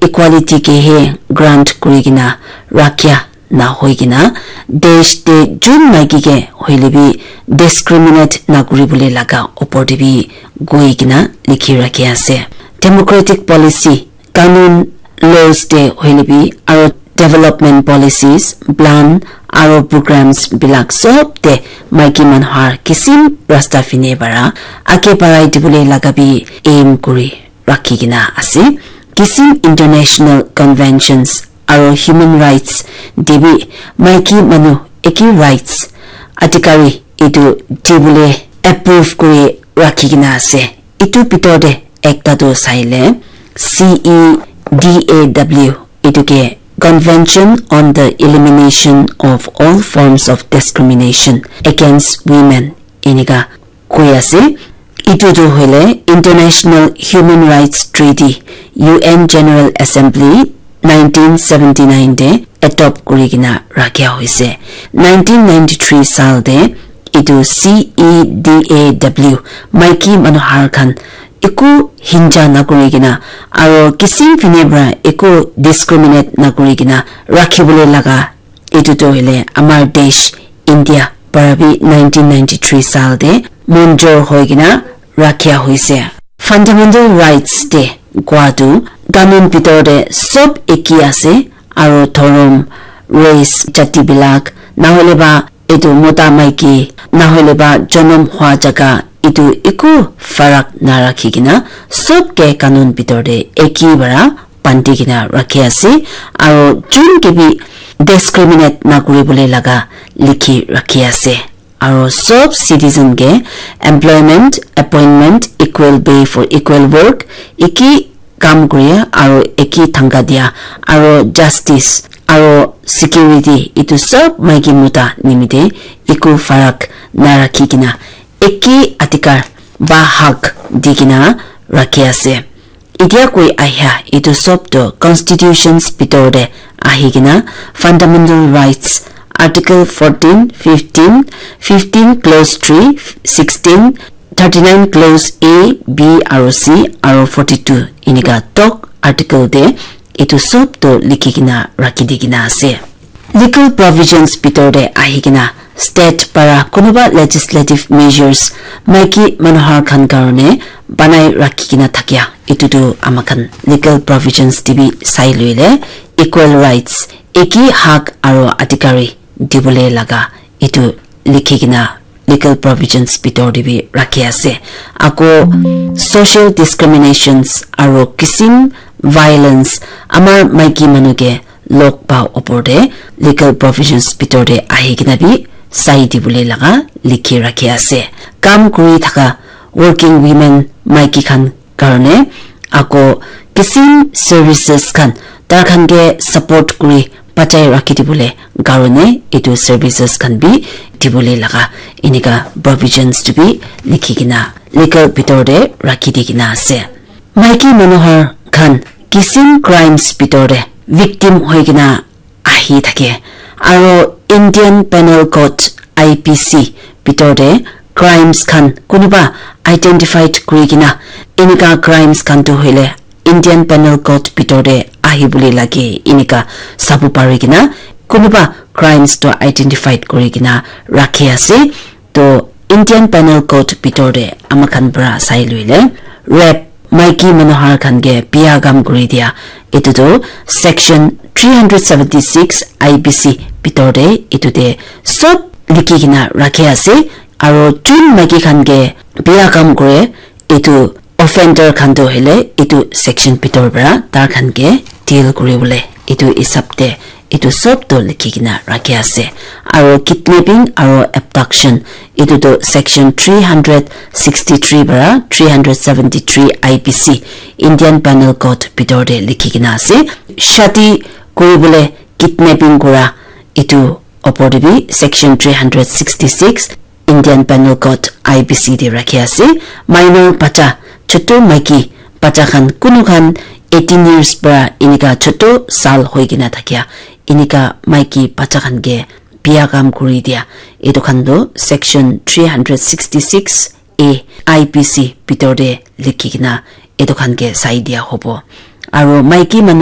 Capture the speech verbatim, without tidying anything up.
equality ke he grant kuri kena rakhia na hoi kena, desh te jun maiki ke hoile bi discriminate na kuri bole laga opor te bi goi kena likhi rakhi ase. Democratic policy, kanun, laws te hoile bi aro development policies, plan aro programs bilak sob te maiki manu har kisim rasta fine bara age barai dibole laga bi aim kuri rakhi kena ase. Kisim international conventions aro human rights te bi maiki manu eki rights adhikari etu dibole approve kuri rakhi kena ase. Etu bitor te ekta tu saile C E D A W, etu ke Convention on the Elimination of All Forms of Discrimination Against Women enika koi ase. Etu tu hoile International Human Rights Treaty, U N General Assembly nineteen seventy-nine te adopt kuri kena rakhia hoise. Nineteen ninety-three saal te etu C E D A W maiki manu har khan eku hinja na kuri kena aro kisim fine para eku discriminate na kuri kena rakhi bole laga etu tu hoile amar desh India para bi nineteen ninety-three saal te monjor hoi kena rakhia hoise. Fundamental rights te kua tu kanun bitor te sob eki ase aro dhorom, race, jati bilak, na hoile ba etu mota maiki, na hoile ba jonom hua jaga, etu eku farak na rakhi kena sob ke kanun bitor te eki para bandi kena rakhi ase aro jun ke bi discriminate na kuri bole laga likhi rakhi ase. Aro sob citizen ke employment, appointment, equal pay for equal work, eki kam kuri aro eki thangka dia aro justice aro security etu sob maiki mota nimite eku farak na rakhi kena eki adhikar ba hak di kena rakhi ase. Etia koi ahia etu sob tu constitutions bitor te ahi kena fundamental rights article fourteen, fifteen, fifteen clause three, sixteen, thirty-nine clause A, B aro C aro forty-two enika tok article te etu sob tu likhi kena rakhi di kena ase. Legal provisions bitor te ahi kena state para kunuba legislative measures maiki manu har khan karone banai rakhi kena thakia etu tu ama khan legal provisions te bi sai loile equal rights, eki hak aro adhikari dibole laga etu likhi kena legal provisions bitor te bi rakhi ase. Ako social discriminations aro kisim violence amar maiki manu ke log pa opor te legal provisions bitor te ahi kena bi sai dibole laga likhi rakhi ase. Kam kuri thaka working women maiki khan karone ako kisim services khan tar khan ke support kuri bachai rakhi dibole karone etu services khan bi dibole laga enika provisions tu bi likhi kena legal bitor te rakhi di kena ase. Maiki manu har khan kisim crimes bitor te victim hoi kena ahi thake aro Indian Penal Code, I P C bitor te crimes khan kunuba identified kuri kena enika crimes khan tu hoile Indian Penal Code bitor te ahi bole lage enika sabo pari kena kunuba crimes tu identified kuri kena rakhi ase. To Indian Penal Code bitor te ama khan para sai loile rape, maiki manu har khan ke bia kam kuri dia, etu tu section three hundred seventy-six I P C bitor te etu te sob likhi kena rakhi ase. Aro jun maiki khan ke bia kam kure etu offender khan tu hoile etu section bitor para tar khan ke deal kuri bole etu hisab te etu sob tu likhi kena rakhi ase. Aro kidnapping aro abduction etu tu section three hundred sixty-three para three hundred seventy-three I P C, Indian Penal Code bitor te likhi kena ase. Shadi kuri bole kidnapping kura etu opor te bi section three hundred sixty-six Indian Penal Code, I P C te rakhi ase. Minor bacha, chotu maiki bacha khan, kunu khan eighteen years para enika chotu saal hoi kena thakia enika maiki bacha khan ke bia kam kuri dia, etu khan tu section three hundred sixty-six A I P C bitor te likhi kena etu khan ke sai dia hobo. Aro maiki manu